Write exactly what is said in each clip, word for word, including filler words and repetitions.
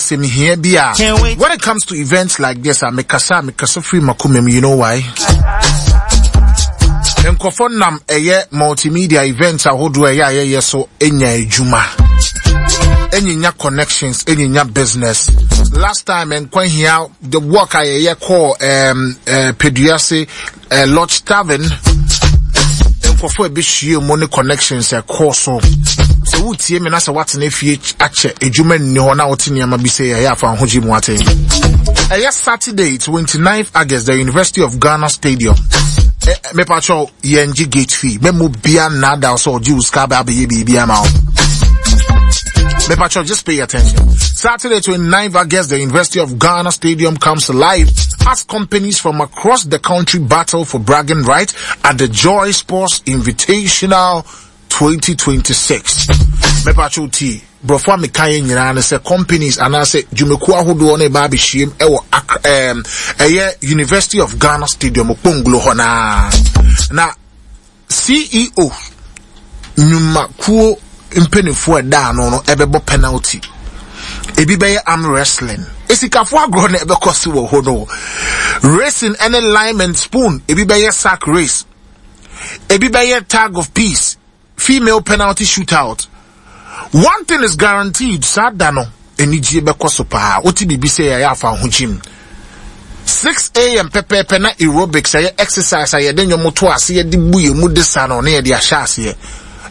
asɛm hia bi a, Can't wait. when it comes to events like this a, mekasa a, mekasa firi makoma mu. You know why? Nkurɔfoɔ nam ɛyɛ multimedia events ahodoɔ a ɛyɛ a yɛyɛ so nya adwuma, ɛnyinya connections, ɛnyinya business. Last time nkwa hia the work a yɛyɛ kɔɔ um, uh, Peduase uh, Lodge Tavern, nkurɔfoɔ a ɛbɛhyia mu ne connections ɛkɔɔ so. Sɛ wotie me na sɛ woatena fie akyɛ, adwuma nni hɔ na wote nneɛma bi sɛ yɛyɛ afa ho gye mu ate. Ɛyɛ Saturday twenty-ninth August, the University of Ghana Stadium. Mepakyɛw, yɛngye gate fee. Mɛmu bia nnaada sɛ ɔgye wo sika bɛ abɛyɛ biribi ama wo. Mepakyɛw, just pay attention. Saturday twenty-ninth August, the University of Ghana Stadium comes alive as companies from across the country battle for bragging rights at the Joy Sports Invitational twenty twenty-six. Mepakyɛw tie. Brɔfo a meka yɛ nyinaa ne sɛ companies anaasɛ dwumakuo ahodoɔ no ɛba abɛhyiam ɛwɔ Accra- ɛɛm, ɛyɛ University of Ghana Stadium Okponglo hɔ naa na C E O nnwumakuo mpanimfoɔ a ɛda ano no ɛbɛbɔ penalty, ebi bɛyɛ arm wrestling, esikafoɔ agorɔ na ɛbɛkɔ so wɔ hɔ no, racing ɛne lime and spoon, ebi bɛyɛ sack race, ebi bɛyɛ tag of peace, female penalty shootout. One thing is guaranteed, saa da no anigye bɛkɔ so paa. Wote biribi sɛ yɛyɛ afa ho gyim. six a m pɛpɛɛpɛ na aerobics, ɛyɛ exercise a yɛde nnwom to ase, yɛde bu yɛn mu de sa no na yɛde ahyɛ aseɛ.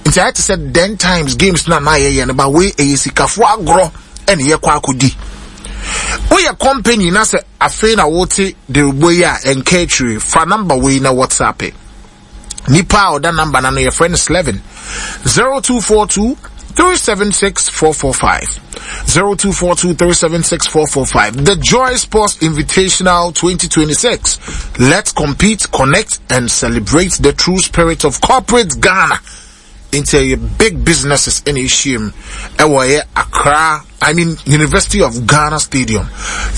Nti ayɛ te sɛ den times games na na yɛyɛ no ba. Wei ɛyɛ sikafoɔ agorɔ ɛne yɛkɔ akɔdi. Woyɛ company na sɛ afei na wote derebo yi a, ɛnka akyire, fa number wei na WhatsApp it. Nipa a ɔda number na no, yɛfrɛ no Slevin, zero two four two three seven six four four five, zero two four two three seven six four four five. The Joy Sports Invitational twenty twenty-six. Let's compete, connect and celebrate the true spirit of corporate Ghana. Nti ɛyɛ big businesses ɛna ahyia mu ɛwɔ ɛyɛ Accra, I mean University of Ghana Stadium,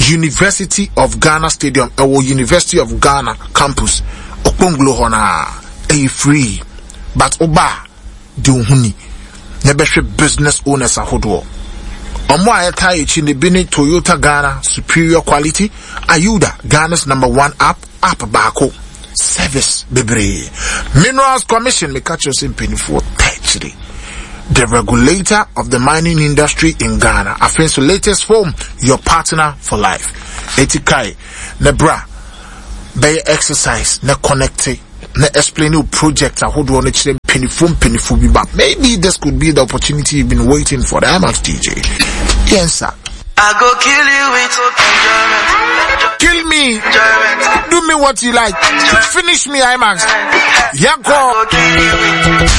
University of Ghana Stadium, ɛwɔ University of Ghana campus Okponglo hɔ naa. Ɛyɛ free, but ɔba de ohun ni na ɛbɛhwɛ business owners ahodoɔ. Ɔmo a ɛta akyi ne bi ne Toyota Ghana, superior quality; Ayuda, Ghana's number one app, app baako, service bebree; Minerals Commission, meka kyerɛ sɛ mpanimfoɔ ta akyire, the regulator of the mining industry in Ghana. Afei nso Latest Foam, your partner for life. Eti kae ne bra bɛyɛ exercise na connect na explain your project ahodoɔ no kyerɛ mpanimfoɔ mpanimfoɔ bi ba. Maybe this could be the opportunity you've been waiting for. The IMAX D J, yes sir. I go kill you with enjoyment. Kill me. Enjoyment. Do me what you like. Finish me, IMAX. Yanko. I go kill you with.